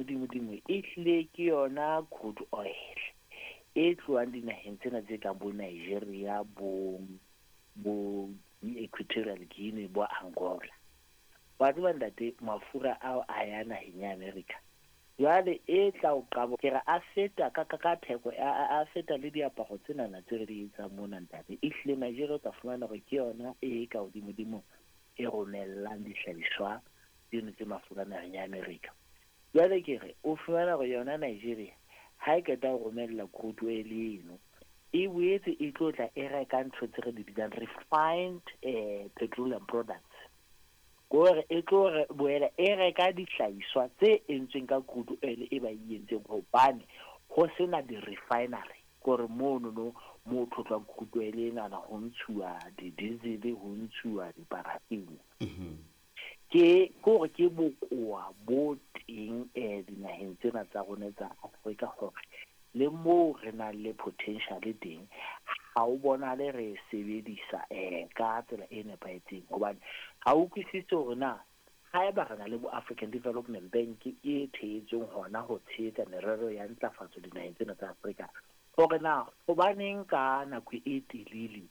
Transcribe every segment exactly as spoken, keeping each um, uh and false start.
hodimo-dimo e hlile ke yona crude oil e tlohang dinaheng tsena tse kang bo Nigeria, bo bo Equatorial Guinea, bo Angola. Wa tseba ntate, mafura ao a ya naheng ya America. Jwale e tla o qabo ke re a feta ka ka ka theko a a feta le diaparo tsenana tse re di etsang mona ntate. E hlile Nigeria o tla fumana hore ke yona e ka hodimo-dimo e romellang dihlahiswa tseno tse mafura naheng ya America. Jwale ke re o fumana hore yona Nigeria ha e qeta ho romella crude oil eno, e boetse e tlo tla e reka ntho tse re di bitsang refined eh, petroleum products. Kore e tlo re boela e reka dihlahiswa tse entsweng ka crude oil e ba e entseng, hobane ho sena di-refinery. Kore mono no mo tlhotlwang crude oil enana ho ntshuwa di-diesel, ho ntshuwa di-paraffin. Ke kore ke bokowa bo teng eh dinaheng tsena tsa rona tsa Afrika, hore le moo re nang le potential teng ha o bonahale re e sebedisa eh ka tsela e nepahetseng. Hobane ha o utlwisise hore na haeba re na le bo African Development Bank e thehetsweng hona ho tshehetsa merero ya ntlafatso dinaheng tsena tsa Afrika, hore na hobaneng ka nako e telele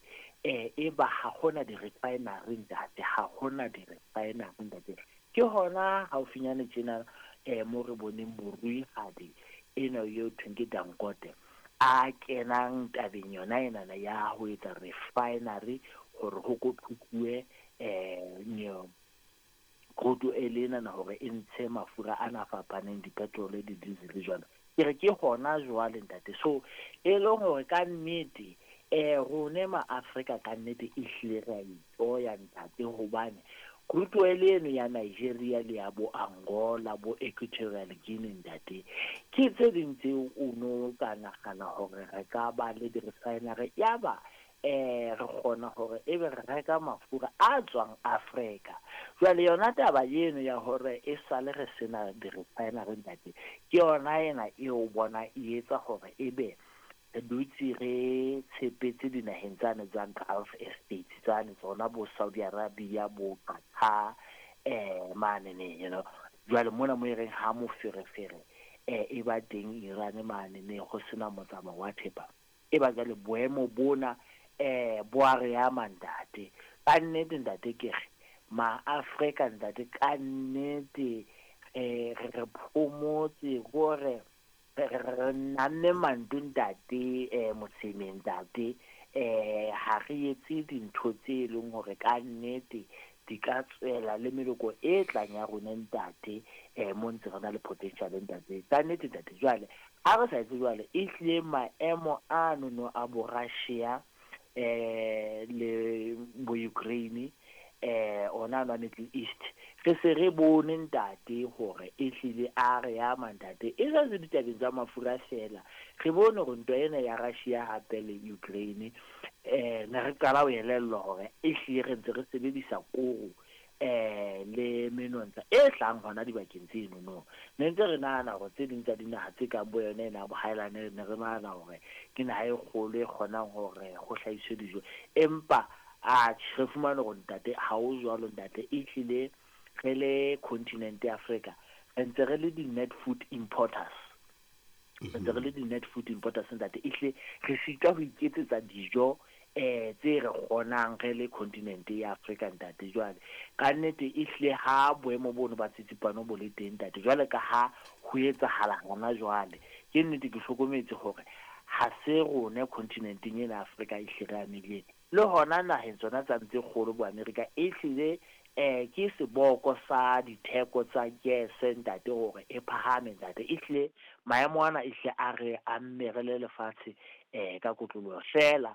eh e ba ha hona di-refinery ntate, ha hona di-refinery ntate. Ke hona haufinyane tjena eh mo re boneng moruihadi ena eo thweng ke Dangote a kenang tabeng yona enana ya ho etsa refinery hore ho kothukuwe eh nyo crude oil enana hore e ntshe mafura ana a fapaneng, di-petrol, di-diesel jwalo. Ke re ke hona jwale ntate. So e leng hore ka nnete eh rone ma Afrika ka nnete e hlile re a itoya ntate, hobane crude oil eno ya Nigeria le ya bo Angola, bo Equatorial Guinea ntate, ke tse ding tseo o no ka nagana hore re ka ba le di-refinery, ya ba eh re kgona hore ebe re reka mafura a tswang Afrika. Jwale yona taba eno ya hore e sale re sena di-refinery ntate, ke yona ena eo bona e etsa hore ebe re dutse re tshepetse dinaheng tsane tsa Gulf States tsane tsona bo Saudi Arabia, bo Qatar eh mane ne, you know. Jwale mona mo e reng ha moferefere eh e ba teng Iran mane ne ho sena motsamao wa thepa, e ba jwale boemo bona eh bo a re ama ntate. Ka nnete ntate ke re ma Afrika ntate ka nnete eh re re phomotse hore re re namme manto ntate eh mosemeng ntate, eh ha re etse dintho tse leng hore ka nnete di ka tswela le meloko e tlang ya rona ntate, eh mo ntse re na le potential ntate. Ka nnete ntate, jwale ha re sa etse jwale e hlile maemo ano no a bo Russia eh le bo Ukraine eh ona a Middle East, re se re bone ntate hore e hlile a re ama ntate. E sa se ditabeng tsa mafura fela, re bone hore ntwa ena ya Russia hape le Ukraine eh ne re qala ho elellwa hore e hlile re ntse re sebedisa koro eh le menontsha e tlang hona dibakeng tseno no. Ne ntse re nahana hore tse ding tsa dinaha tse kang bo yona ena bo Highland, ne re nahana hore ke naha e kgolo e kgonang hore ho hlahiswe dijo, empa a re fumane hore ntate ha o jwalo ntate. E hlile re le continent ya Afrika re ntse re le di-net food importers, re ntse re le di-net food importers ntate. E hlile re sitwa ho iketsetsa dijo eh tse re kgonang re le continent ya Afrika ntate. Jwale ka nnete e hlile ha boemo bono ba tsitsipano bo le teng ntate, jwale ka ha ho etsahala hona jwale, ke nnete ke hlokometse hore ha se rone continenteng ena Afrika e hlile re amileng le hona naheng tsona tsa ntse kgolo bo Amerika, e hlile eh ke seboko sa ditheko tsa gese ntate hore e phahame ntate. E hlile maemo ana e hlile a re amme re le lefatshe eh ka kotloloho. Fela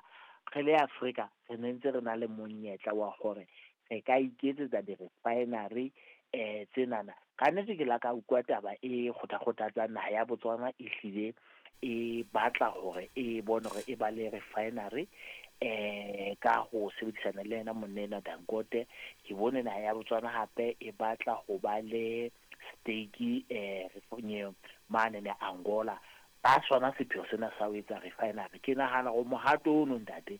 re le Afrika re ne ntse re na le monyetla wa hore re ka iketsetsa di-refinery eh tsenana. Ka nnete ke la ka utlwa taba e kgothakgothatsang naha ya Botswana e hlile e batla hore e bone hore e ba le refinery eh ka ho sebedisana le yena monna Dangote. Ke bone naha ya Botswana hape e batla ho ba le stake eh mane ne Angola, ba sona sepheo sena sa ho etsa refinery. Ke nahana hore mohato ono ntate